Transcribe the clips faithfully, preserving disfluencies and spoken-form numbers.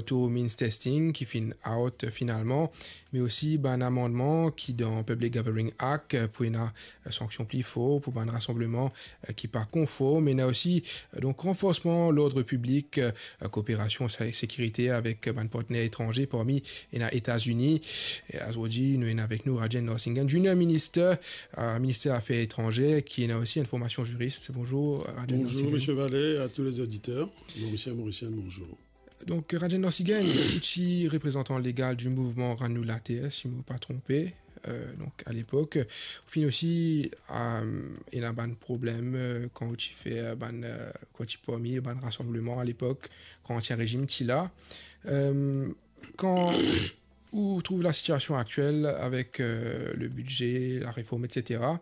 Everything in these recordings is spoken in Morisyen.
Too Means Testing ki finn out, euh, finalman, me osi bann amannman ki dan Public Gathering Act, euh, pou ena, euh, sanksion pli for pou bann rasanbleman, euh, ki pa konform. Ena osi, euh, donk, ranforsman lord piblik, euh, kooperasion sa-, sekirite avek, euh, bann partner etranze, parmi ena Etazini. E azordi, nou ena avek nou Rajendra Singh, Junior Minister, euh, Minister Afer Etranze, ki ena osi enn formasion ziris. Bonzour, Rajendra Singh. Bonzour, Monsieur Vallée, à tous les auditeurs. Morisien, Morisienn, bonzour. Donk, Rajendra Singh, ou ti reprezantan legal di mouvman Rann Nou Later, si mo pa tronpe, euh, donk, alepok. Ou finn osi, euh, ena bann problem, euh, kan ou ti fer, euh, bann, euh, kan ou ti parmi bann rasanbleman alepok, kan Ansien Rezim ti la. Euh, kan ou trouv lasitiasion aktiel avek, euh, le bidze, lareform, et cetera,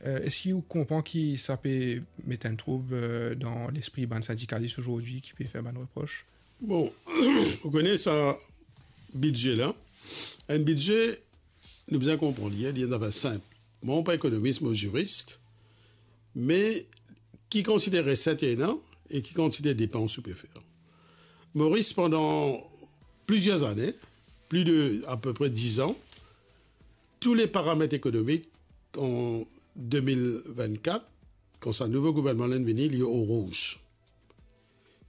euh, eski ou konpran ki sa pe met enn troub, euh, dan lespri bann sindikalis azordi ki pe fer bann repros? Bon, ou kone sa bidze la. Enn bidze, nou bizin konpran li, li enn zafer sinp. Mwa, mo pa ekonomis, mo ziris, me ki kantite reset ena e ki kantite depans ou pe fer. Moris, pandan plizier zane, plis de apepre diz an, tou le paramet ekonomik an de mil vennkat, kan sa nouvo gouvernman la vini, li o rouz.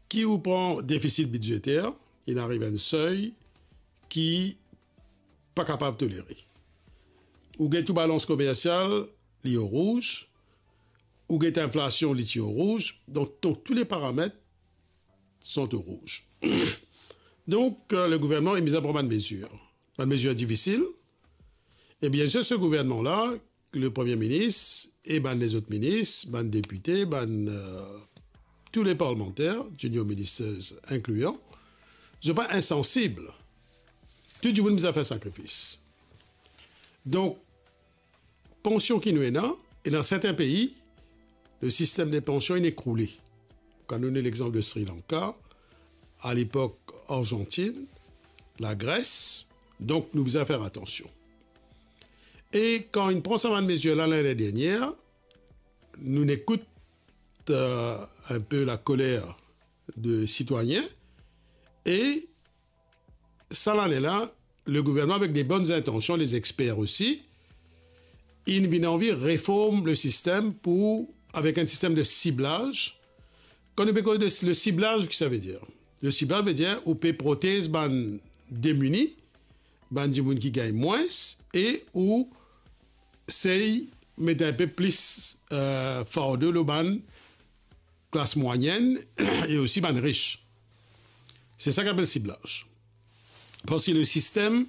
Ki ou pran defisit bidzeter, inn ariv enn sey ki pa kapav tolere. Ou get ou balans komersial, li o rouz. Ou get inflasion, li ti o rouz. Donk, donk, tou le paramet sont o rouz. Donk, euh, le gouvernman inn bizin pran bann mezir. Bann mezir difisil. E biensir, se gouvernman la, le Premie Minis e bann lezot minis, bann depite, bann, euh, tou le parlmanter, junior ministers inklian, zot pa insansib. Tou dimoun bizin fer sakrifis. Donk, pansion ki nou ena, e dan sertin pei, le sistem de pansion inn ekroule. Kan nou donn lexanp de Sri Lanka, alepok Arzantinn, Lagres, donk nou bizin fer atansion. E kan inn pran sa bann mezir la lane dernier, nou ekout, euh, enpe lakoler de sitwayin, e sa lane la, le gouvernman, avek de bonn intansion, lezexper osi, inn vinn anvi reform le sistem pou, avek enn sistem de siblaz. Kan nou pe koz de le siblaz, ki sa vedir? Le siblaz vedir ou pe protez bann demini, bann dimoun ki gagn mwins, e ou sey met enpe plis, euh, fardo lor bann klas mwayenn e osi bann ris. Se sa ki apel siblaz. Parski le sistem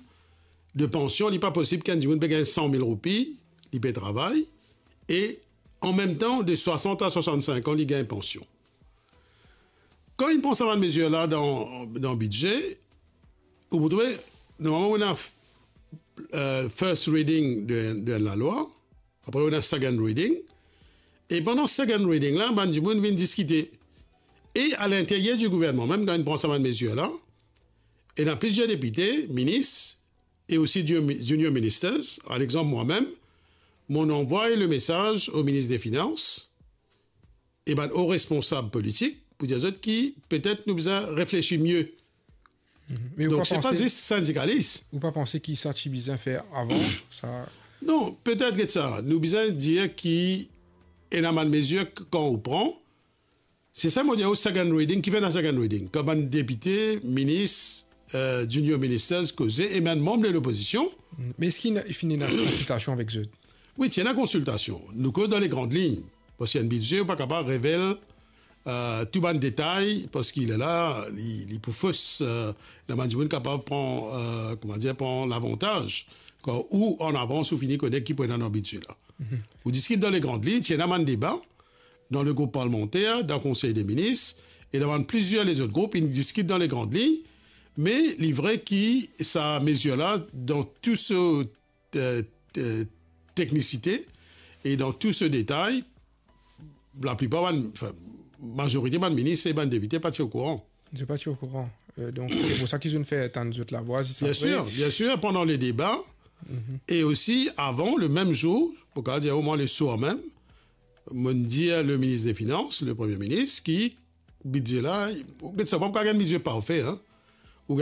de pansion, li pa posib ki enn dimoun pe gagn san mil roupi, li pe travay, e anmemtan, de swasant a swasant-sink an, li gagn pansion. Kan inn pran sa bann mezir la dan, dan bidze, ou pou trouve, normalman, ou ena, euh, first reading de, de lalwa, apre ou ena second reading, e pandan second reading la, bann dimoun vinn diskite. E a linteryer di gouvernman mem, kan inn pran sa bann mezir la, ena plizier depite, minis, e osi junior, junior ministers, par exanp mwa mem, mo anvoy le mesaz o minis de finans e bann o responsab politik pou dir zot ki petet nou bizin reflesi mie. Mhm. Me ou pa panse, donk, se pa zis sindikalis. Ou pa panse ki sa ti bizin fer avan, sa? Non, petet get sa. Nou bizin dir ki ena bann mezir k-, kan ou pran, se sa mo dir ou second reading, ki fer ena second reading? Kan bann depite, minis, euh, junior ministers koze, e mem manm de lopozision. Mm. Me eski inn finn ena konsiltasion avek zot? Wi, ti ena konsiltasion. Nou koz dan le grand lign. Parski enn bidze, ou pa kapav revel, euh, tou bann detay, parski lerla, li, li pou fos, euh, ena bann dimoun kapav pran, euh, kouma dir, pran lavantaz. Kan ou an avans, ou fini kone ki pou ena dan bidze la. Mhm. Ou diskit dan le grand lign, ti ena bann deba, dan le group parlmanter, dan Konsey de Minis, e dan bann plizier lezot group, inn diskit dan le grand lign, me li vre ki sa mezir la, dan tou so, euh, euh, teknisite, e dan tou so detay, laplipar bann, anfin, mazorite bann minis e bann depite pa ti okouran. Zot pa ti okouran. Euh, donk, se pou sa ki zot inn fer tann zot lavwa, zis apre. Biensir, biensir, pandan le deba, mhm, e osi avan, le mem zour, pou kapav dir omwin le swar mem, mo'nn dir le minis de finans, le premie minis, ki bidze la, ou get sa, pa kapav gagn bidze parfe, hein.